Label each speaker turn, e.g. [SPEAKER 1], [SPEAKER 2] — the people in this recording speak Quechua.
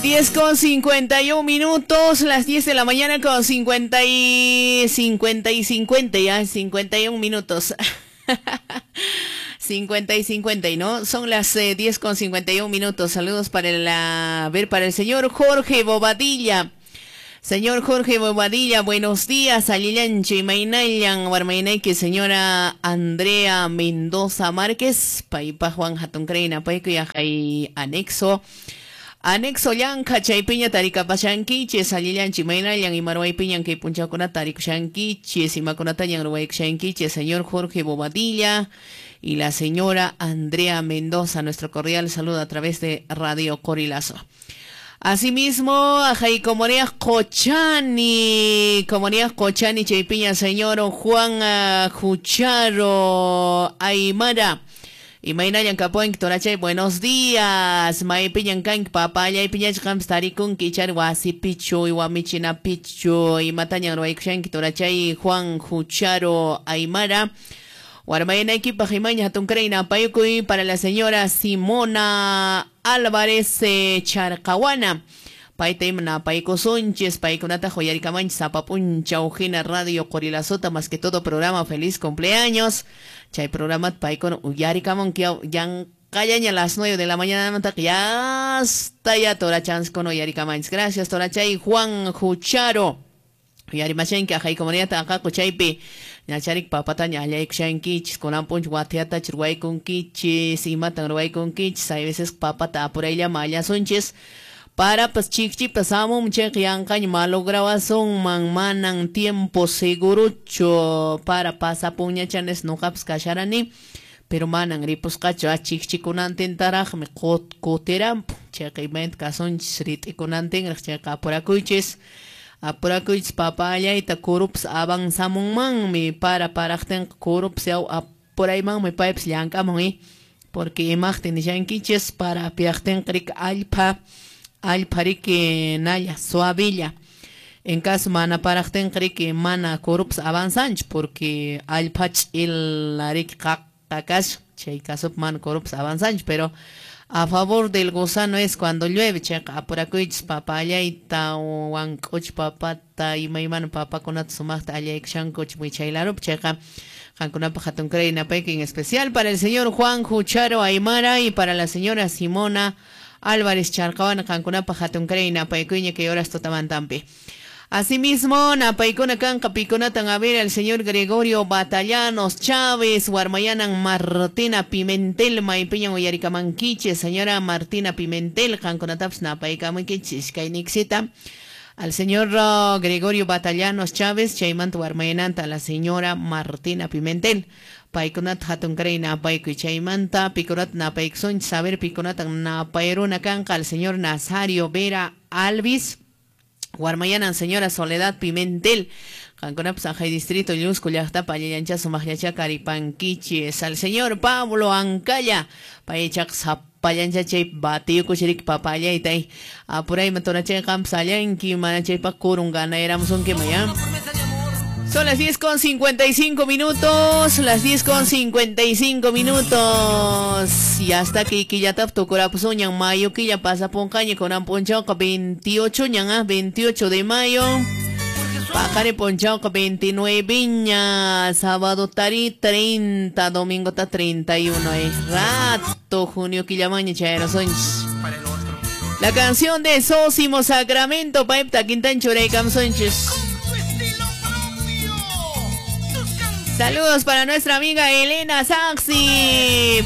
[SPEAKER 1] 10:51 minutos, las 10 de la mañana con 50 y 50 y 50, ya, 51 minutos. 50 y 50, y no, son las 10:51 minutos. Saludos para para el señor Jorge Bobadilla. Señor Jorge Bobadilla, buenos días. Alillancho y Mainayan, Warmainayki, señora Andrea Mendoza Márquez, Paipa Juan Hatuncreina, Paico y anexo. Anexo llanka chaypiña tarikapashankichis, allillanchi maynallan imaruaypiñan kay punchawkunata tarikushankichis, imakunatañan ruwaykushankichis, señor Jorge Bobadilla y la señora Andrea Mendoza, nuestro cordial saludo a través de Radio Corilazo. Asimismo, ajay comunidad Cochani, chaypiña, señor Juan Jucharo Aymara. Y maynallan kapuanki torachay, buenos días. Maypiñan kanki papallay piñach qampas tarikunki ichari wasipichu iwamichinapichu imatañan ruwaykushanki torachay Juan Jucharo Aymara. Warmaynaykipaq imaña hatunkaray napaykuy para la señora Simona Álvarez Charcahuana. Payta ima napaykusunchis, paykunata uyarikamanchis sapapunchaw hina Radio Qorilazota, más que todo programa Feliz Cumpleaños. Chay programa paykuna uyarikamun yanqallaña a las 9 de la mañana ya hasta ya torachanskuna uyarikamanchis. Gracias torachay Juan Jucharo. Uyarimachanki ajay comunidad aqaqu chaypi ñacharik papataña allaykushankichis kunan punch watiata ruwaykunkichis imatan ruwaykunkichis. Hay veces papata apurayllama allasunchis. Para pues chikchipas amum chayqa yanqaña malograwasunman manan tiempo segurucho para pasapunñachanes nuqapas kasharani, pero manan ripusqachu chikchikunantintaraqmi kutirampu chayqa imayna kasunchis rit'ikunantinraq chayqa apurakuychis apurakuychis papa allayta kurupas avanzamunmanmi para paraqtinqa kurupas yaw apuraymanmi paypas llank'amun porque imaqtin nishankichis para apiaqtinqa riki allpa riki nalla suavilla. En caso mana paraqtinqa riki mana kurupas avanzanchu porque allpa ch'ila riki qaqa kashan chay casopi mana kurupas avanzanchu, pero a favor del gusano es cuando llueve chayqa apurakuychis papa allayta wank'uch papata imaymana papakunata sumaqta allaykushankuch wichaylarupi chayqa qankunapaq hatunkaray napayki, en especial para el señor Juan Jucharo Aymara y para la señora Simona Álvarez Charcahuana, qankunapaq hatunkaray napaykuyña kay horas tutamantampi. Asimismo, napaykuna kanqa pikunatan a ver al señor Gregorio Batallanos Chávez, warmayanan Martina Pimentel, maypiñan uyarikamankichis, señora Martina Pimentel, qankunatapas napaykamunkichis, kayniksita. Al señor Gregorio Batallanos Chávez, chaymanta warmayananta a la señora Martina Pimentel. Paykunata hatunkaray napaykuy chaymanta pikunata napaykusunchis, saber pikunata napayruna kanqa al señor Nazario Vera Alvis, warmayanan señora Soledad Pimentel, qankunapas ajay distrito Llusco llaqtapa allallancha sumaqllacha karipankichis, al señor Pablo Ancalla, paychaq sapallancha chay batiyukuchirik papallaytay apurayma torachay qampas allanki mana chaypaq kurun ganayramusunkima ya. Son las 10:55 minutos, las 10:55 minutos. Y hasta que quillatap tukurapusuñan mayo quilla pasapunqaña kunan punchawqa 28 ñan, 28 de mayo. Paqari punchawqa 29 ña, sábado tari 30, domingo ta 31. Rato junio quillamaña chayarasunchis. La canción de Sósimo Sacramento, paipta quintanchuraykamsunchis. Saludos para nuestra amiga Elena Saxi.